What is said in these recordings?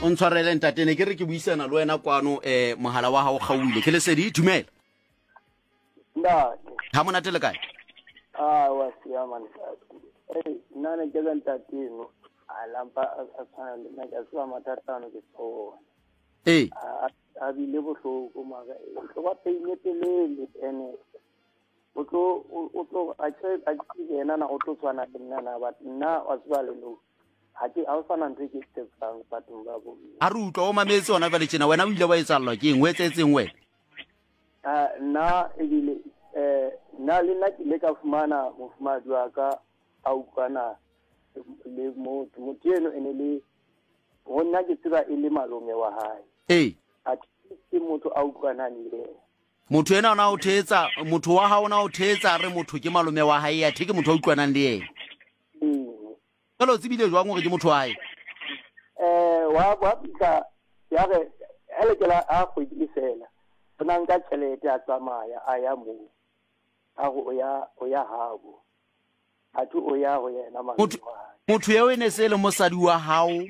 O ntshwarele ntate, ne ke re ke buisana le wena kwano um mohala wa gago kgaoile. Ke Lesedi, dumela. Ntate. Ha monate le kae? A wa siama ntate. Ei, nna ne ke ka ntate eno a lampa a tshwana le nna ke a tseba mathata ano ke tsona. Ee. A bile bohloko mara e tlo ba pain e telele ene o tlo o tlo a tse a ke yena na o tlo tshwana le nna na but nna wa tseba le no ha ke ha o sana ntho e ke tsebang bathong ba bo. A re utlwa o mametse hona jwale tjena wena o ile wa etsallwa ke eng o etsetseng wena? Nna ebile um nna le nna ke ile ka fumana mofumahadi wa ka a utlwana le motho motho eno e ne le ho nna ke tseba e le malome wa hae. Ee. A ke motho a utlwanang le yena. Motho ena ona o thetsa motho wa hao ona o thetsa re motho ke malome wa hae athe ke motho a utlwanang le yena. Ee. Jwale o tsebile jwang hore ke motho wa hae? Eh wa wa fihla ya re ha le kela a kgwedi e fela o na nka tjhelete a tsamaya a ya moo a re o ya o ya habo athe o ya ho yena malome wa hae. Motho eo e ne se le mosadi wa hao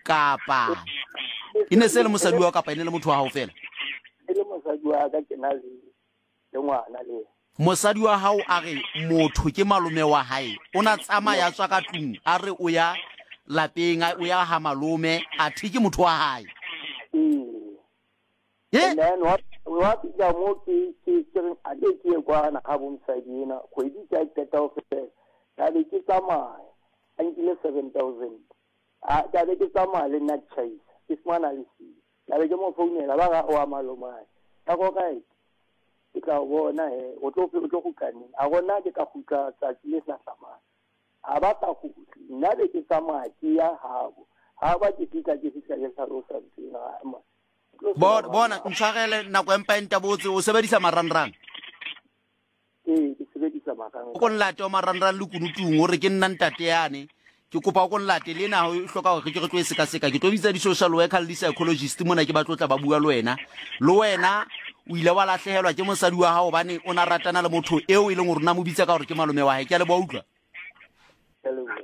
kapa e ne se le mosadi wa hao kapa e ne le motho wa hao fela? E le mosadi wa ka ke na le le ngwana le yena. Mosadi wa hao a re motho ke malome wa hae, o na tsamaya a tswa ka tlung a re o ya lapeng o ya ha malome athe ke motho wa hae. Ee. Ye? And then wa wa fihla mo ke ke ke reng a ke ke ye kwana ga bo mosadi ena kgwedi ke a qeta ho fela ka be ke tsamaya a nkile 7000 a ka be ke tsamaya le nna ke tjhaisa ke fumana le siyo Ka be ke mo founela ba ra o a malomae. Ka go right. Ke tla o bona he o tlo o tlo kgutla neng? A gona ke tla kgutla tsatsi le hlahlamang. A ba sa kgutle. Nna be ke tsamaya ke ya habo. Ha ba ke fihla ke fihla ke hlalosa ntho ena. Ma. Bona, bona ntshwarele nako empa e ntabotse o sebedisa marangrang. Ee, ke sebedisa marangrang. O ko nlate o marangrang le kunutung o re ke nna ntate yane. Ke kopa o ko nlate le ena o hloka hore ke re tlo e sekaseka. Ke tlo bitsa di-social worker le di-psychologist mona ke ba tlo tla ba bua le wena. Le wena o ile wa lahlehelwa ke mosadi wa hao hobane o na ratana le motho eo e leng hore o na mo bitsa ka hore ke malome wa hae. Ke a leboha utlwa. Ke a leboha.